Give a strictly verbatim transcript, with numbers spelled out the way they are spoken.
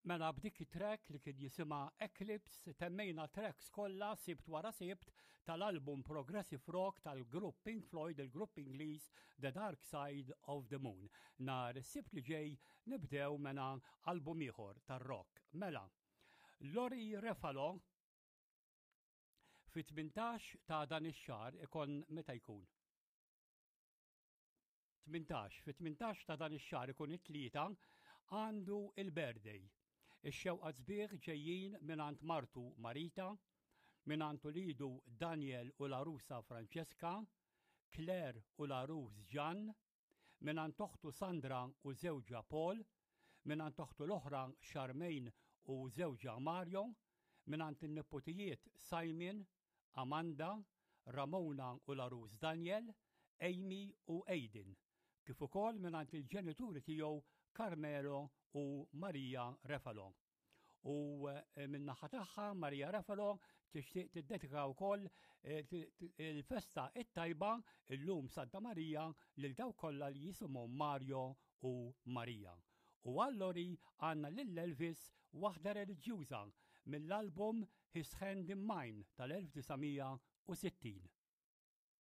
Mela, b'dik it-track li kien jisimha Eclipse temmejna tracks kollha Sibt wara Sibt tal-album Progressive Rock tal-grupp Pink Floyd, il-grupp Ingliż, The Dark Side of the Moon. Nhar Sibt li ġej nibdew mena album ieħor tar-rock. Mela, Lori Refalo fit-tmintax ta' dan ix-xahar ikun, meta jkun? tmintax, fit-tmintax ta' dan ix-xahar ikun it-Tlieta, għandu il-birthday. Ix-xewqat sbieħ ġejjin mingħand martu Marita, mingħand ulidu Daniel u l-għarusa Francesca, Claire u l-għarus Ġan, mingħand oħtu Sandra u żewġha Paul, mingħand oħtu l-oħra Charmaine u żewġha Mario, mingħand in-nepotijiet Simon, Amanda, Ramona u l-għarus Daniel, Amy u Aiden, kif ukoll mingħand il-ġenituri tiegħu Carmelo u Maria Refalo. U eh, min-naħa tagħha Maria Refalo tixtieq tiddedika wkoll eh, il-festa it-tajba illum Santa Marija lil dawk kollha li jisimhom Mario u Maria. U għal Lori għandna lil Elvis, waħda reliġjuża mill-album His Hand in Mine tal-elf disa' mija u sittin.